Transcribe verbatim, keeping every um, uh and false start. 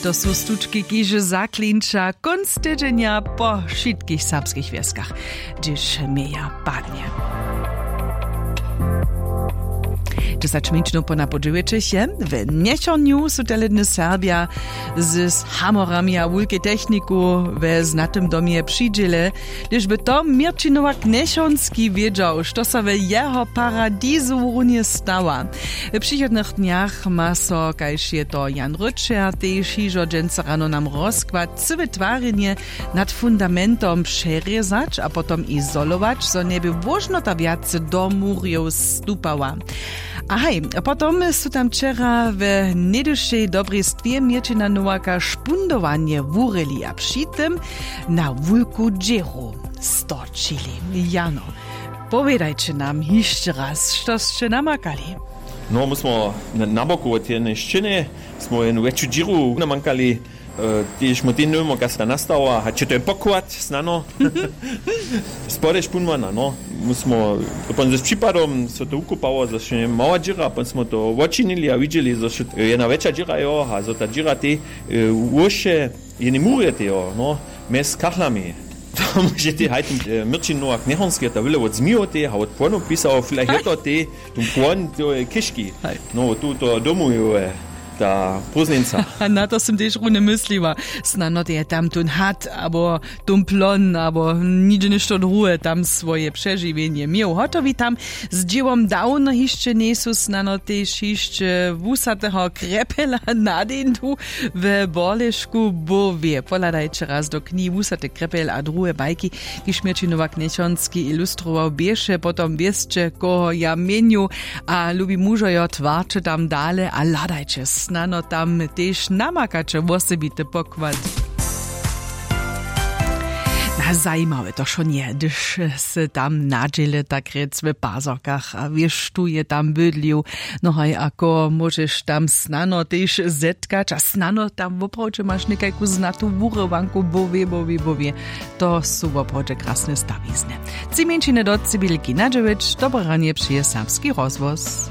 To su stučki kiž zaklinča kónc tydźenja po wšitkich serbskich wjeskach, hdyž měja padnje. Dźesać mjeńšinow po napoł dźewjećich je. W njechornju su tele dny serbja z hamorami a wulkej techniku we znatym domje přidźěle. Hdyž by to měrćin nowak njechornski wědźał, što so w jeho paradizu runje stała. W přichodnych dnjach ma so, kaž je to Jan Røtschea tež hižo dźensa rano nam rozkład, cyłe twarjenje nad fundamentom přerězać a potom izolować, zo njeby wóžnota wjace do murjow stupała. A haj, potom su tam wčera w nejdyšej dobrej stwě měrćina nowaka špundowanje wurěli a při tym na wulku dźěru stočili. Jano, powědajće nam hišće raz, što sće namakali? No, my smo na boku wot jednej sćěny, smo jednu wjetšu dźěru namakali. Tež mu ten nowimo kasta nastała hač je to je pokład snano. Spode špunwana, no. My smo, to pon z připadom so to wukopało, zo še mała dźěra, pon smo to wočinili a widźeli, zo še jedna wjetša dźěra jo a zo ta dźěra tej wóše jednej murje tej jo, no, mjez kachlami. To móže tej haj ten měrćin nowak njechornski ta wyle wot zmijow tej a wot płonow pisał filajch je to tej, tu płon to je kiški. No tu to domu je ta prózdnjeńca. A na to sym tež runje mysliła. Snano te je tam tón had abo tón plon abo nihdźe něšto druhe tam swoje přežiwjenje měł hotowi tam. Z dźěłom dawno hišće njejsu snano tež hišće wusateho krjepela na deńdu w borlešku bowě pohladajće raz do knihi wusate krjepel a druhe bajki, kiž měrćin nowak njechornski ilustrował běše potom wěsće koho ja měnju. A lubi mužojo twarće tam dale a hladajće snano tam tež namakaće wosebity pokład. Na zajimawe to wšo nje hdyž se tam nadźěle tak rjec w pazorkach a wěš tu je tam bydlił. No haj a koho móžeš tam snano tež zetkać a snano tam woprawdźe maš někajku znatu wurywanku bowě bowě bowě. To su woprawdźe krasne stawizny. Tři mjeńšiny do cibilki na dźewjeć dobre ranje přeje serbski rozhłos.